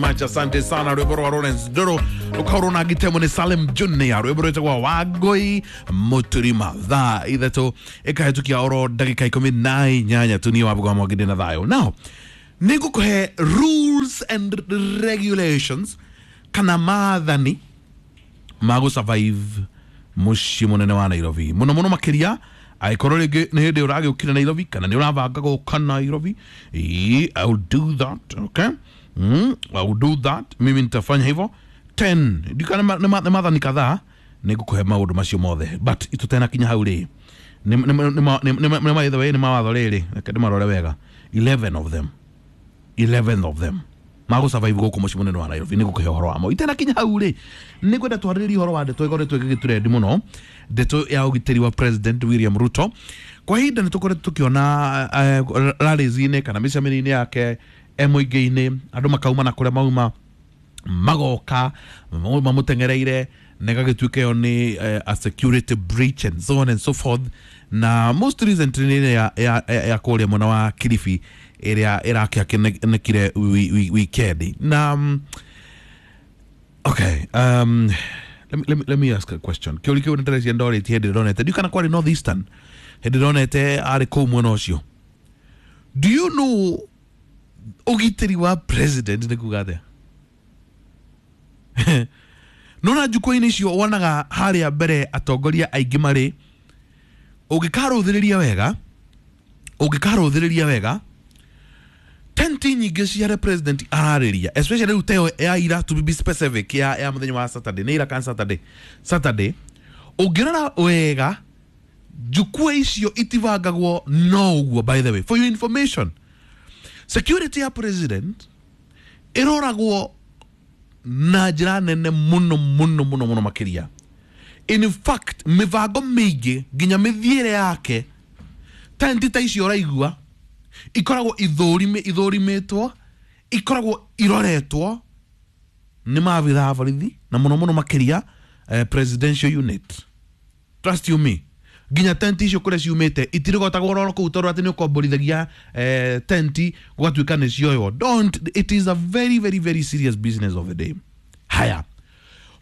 Much asante sana. Rwimbo rwa Lawrence Nduru rukaurwo na ngitemo ni Salim Junior, rwimbo rwitagwo Wangui Muturima. Thaa 3 ikahetukia oro ndagika 18 tu. Niĩ Wambũgũ wa Mwangi ndĩ na thayũ. Now nĩ ngũkũhe rules and regulations kana maathani ma gũ survive mũciĩ mũnene wa Nairobi, mũno mũno makĩria angĩkorwo rĩngĩ nĩ hĩndĩ ũragĩũkire Nairobi kana nĩ ũrabanga gũka Nairobi. Ĩĩ, I will do that. Okay, I will do that. Mimi nitafanya hivyo. 10 ndikana nĩ maathani kadhaa, nĩ ngũkũhe maũndũ macio mothe, but tũtenakinya hau rĩ, nĩ by the way nĩ mawatho rĩrĩ, reke ndĩmarore wega, 11 of them, 11 of them magũ survive gũkũ mũciĩ mũnene wa Nairobi. Nĩ ngũkũhe ũhoro wamo itenakinya hau rĩ. Nĩ ngwenda twarĩrĩrie ũhoro wa ndeto ĩkoretwo ĩgĩgĩtũrendi mũno, ndeto ya ũgitĩri wa President William Ruto. Kwa ihinda nĩ tũkoretwo tũkĩona rallies-inĩ kana mĩcemanio-inĩ yake e mũingĩ-inĩ, andũ makauma na kũrĩa mauma magoka mamũteng'ereire, na ĩgagĩtuĩka ĩyo nĩ a security breach and so on and so forth. Na most recently nĩ ya kũrĩa mwena wa Kilifi ĩrĩa ĩrakĩakĩnĩkire weekend na okay, let me ask a question. Kĩũria kĩu nĩndĩrecia ndorĩtie hĩndĩ ndonete, ndiũ kana kwarĩ North Eastern, hĩndĩ ndonete arĩ kũu mwena ũcio. Do you know ũgitĩri wa president nĩ kuga atĩa? Nona njukwa-inĩ icio wonaga harĩa mbere atongoria aingĩ marĩ, ũngĩkarũthĩrĩria wega, ũngĩkarũthĩrĩria wega, tenti nyingĩ cia harĩa president ararĩria, especially rĩu teo ya ira, to be specific, ya mũthenya wa Saturday, nĩ ira kana Saturday, Saturday, ũngĩrora wega njukua icio itibangagwo no ũguo. By the way, for your information, security ya president ĩroragwo na njĩra nene mũno mũno mũno mũno makĩria. In fact, mĩbango mĩingĩ nginya mĩthiĩre yake, tenti ta icio ũraigua ikoragwo ithũrimĩtwo, ikoragwo iroretwo nĩ maabitha a borithi na mũno mũno makĩria presidential unit. Trust you me, nginya tenti icio kũrĩa ciumĩte itirigotagwo roro kũu tondũ atĩ nĩ ũkomborithagia tenti gũgatuĩka nĩ cioywo. Don't, it is a very very very serious business of the day. Haya,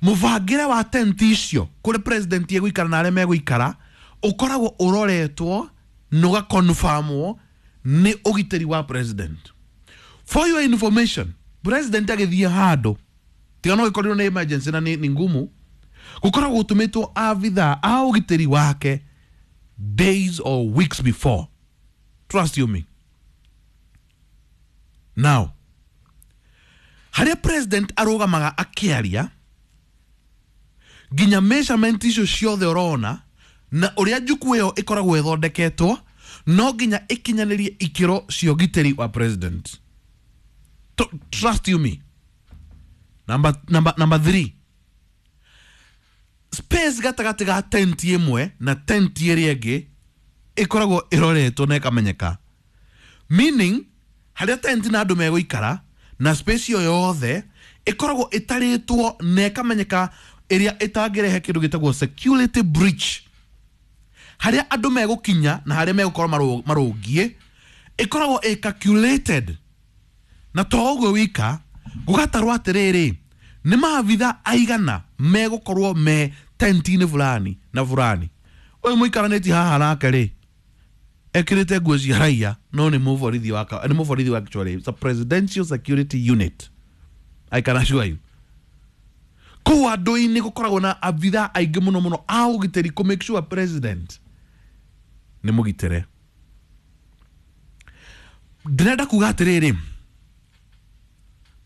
mũbangĩre wa tenti icio kũrĩa president egũikara na arĩa megũikara ũkoragwo ũroretwo na ũgakonfamwo nĩ ũgitĩri wa president. For your information, president agĩthiĩ handũ, tiga no gĩkorirwo nĩ emergency na nĩ ngumu, gũkoragwo gũtũmĩtwo abithaa a ũgitĩri wake days or weeks before. Trust you me. Now harĩa president arũgamaga akĩaria, nginya measurement icio ciothe ũrona na ũrĩa njukua ĩyo ĩkoragwo ĩthondeketwo, no nginya ĩkinyanĩrie ikĩro cia ũgitĩri wa president. Trust you me. Number three, space gatagatĩ ga tenti ĩmwe na tenti ĩrĩa ĩngĩ ĩkoragwo ĩroretwo na ĩkamenyeka, meaning harĩa tenti na andũ megũikara na space ĩyo yothe ĩkoragwo ĩtarĩtwo na ĩkamenyeka, ĩrĩa ĩtangĩrehe kĩndũ gĩtagwo security breach. Harĩa andũ megũkinya na harĩa megũkorwo marũngiĩ ĩkoragwo ĩ calculated. Na to ũguo wika, gũgatarwo atĩrĩrĩ, nĩ maabitha aigana megũkorwo me tenti-inĩ fulani na fulani. Ũyũ mũikaranĩtie haha nake rĩ, ekĩrĩte nguo cia raia, no nĩ mũborithi wa nĩ mũborithi wa, actually it's a presidential security unit, I can assure you. Kũu andũ-inĩ gũkoragwo na abitha aingĩ mũno mũno a ũgitĩri kũ make sure president nĩ mũgitĩre. Ndĩrenda kuga atĩrĩrĩ,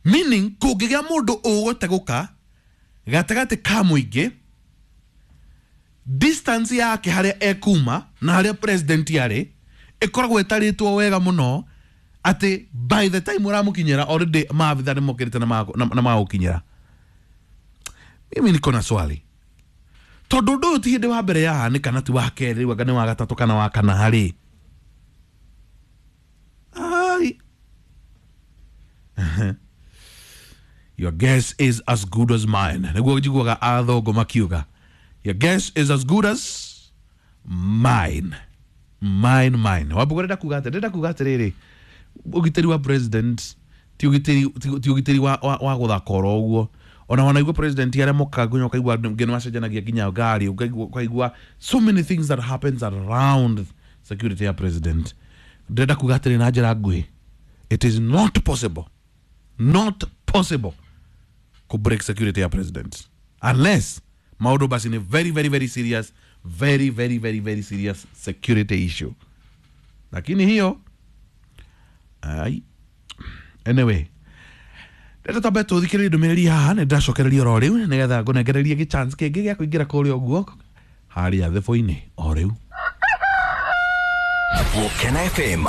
meaning kũngĩgĩa mũndũ ũgũtegũka gatagatĩ ka mũingĩ, distance yake harĩa ekuma na harĩa president arĩ ĩkoragwo ĩtarĩtwo wega mũno, atĩ by the time ũramũkinyĩra already maabitha nĩ mokĩrĩte na magũkinyĩra. Mimi niko na swali, tondũ ũndũ ũyũ ti hĩndĩ wa mbere yahanĩka, na ti wa kerĩ, rĩu anga nĩ wa gatatũ kana wa kana harĩ ai. Your guess is as good as mine, nĩguo njiguaga athũngũ makiuga. Your guess is as good as mine, mine, mine. Wambuga ndĩrenda kuga atĩ, ndĩrenda kuga atĩrĩrĩ, ũgitĩri wa president ti Ti ũgitĩri wa gũthaka oro ũguo. Ona wanaigua president arĩa mokaga nginya ũkaigua nginya nĩmacenjanagia nginya ngari, ũkaigua so many things that happens around security ya president. Ndĩrenda kuga atĩrĩ na njĩra nguhĩ, it is not possible, not possible ku break security ya president unless maũndũ basi ni very very very serious, very very very very serious security issue. Lakini hiyo ai, anyway, reke twambe tũthikĩrĩrie ndũmĩrĩri haha. Nĩ ndĩracokereria oro rĩu nĩgetha ngũnengererie gĩ chance kĩngĩ gĩa kũingĩra kũrĩa ũguo harĩa thĩbũ-inĩ o rĩu. Gũkena FM.